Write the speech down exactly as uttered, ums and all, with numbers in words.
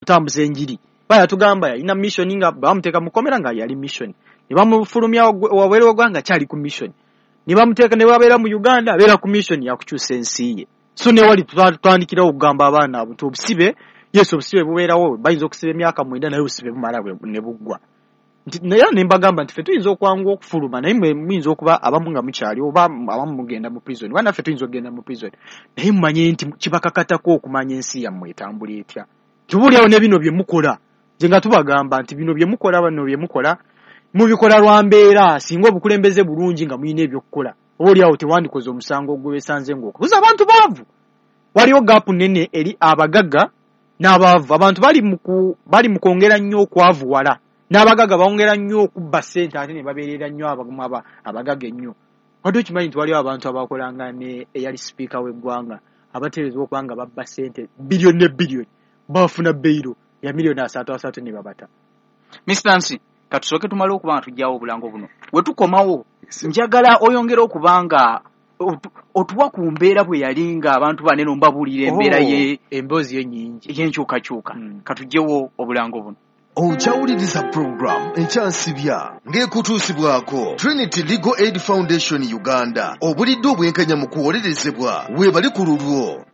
Kutambuza enjiri. Bayatugamba yalina mission, nga bamuteeka mu kkomera nga yali mission, ne bamufulumya wabweru w'eggwanga kyali ku mission, ne bamuteeka ne babeera mu Uganda, abeera ku mission yakukyusa ensi ye. So ne wali tutandikirawo okugamba abaana abo nti obusibe, yes, obusibe bubeerawo, bayinza okusiba emyaka mwenda, naye obusibe bumala ne buggwa. Nti naye ne mbagamba nti ffe tuyinza okwanguwa okufuluma, naye mwe muyinza okuba abamu nga mukyali, oba abamu mugenda mu prison, oba naffe tuyinza okugenda mu prison, naye mumanye nti kibakakatako okumanya ensi yammwe etambula etya. Tubuulirawo ne bino bye mukola, nze nga tubagamba nti bino bye mukola, bano bye mukola mubikola lwa mbeera. Singa obukulembeze bulungi nga mulina ebyokukola, oba oliawo tewandikoze omusango ogwesanze ng'okubuza abantu baavu. Waliwo gap nnene eri abagagga n'abaavu. Abantu bali mu bali mu kwongera nnyo okwavuwala, n'abagagga bongera nnyo okubba ssente, ate ne babeerera nnyo abagagga ennyo. Wadde okimanyi nti waliwo abantu abakolanga ne eyali sipiika w'eggwanga abateeberezebwa okuba nga babba ssente biliyoni ne biliyoni, bafuna bail ya miliyoni asatu asatu ne babata. Mister Nsi, katusooke tumale okuba nga tujjawo obulango buno. We tukomawo, njagala oyongere okuba nga otuwa ku mbeera bwe yali nga abantu banene mbabuulira embeera ye emboozi ye nnyingi ey'enkyukakyuka. Katujjewo obulango buno. Okyawuliriza program Ekyansibya ng'ekutuusibwako Trinity Legal Aid Foundation Uganda. Obulidde obwenkanya mu kuwolerezebwa weebali ku lulwo.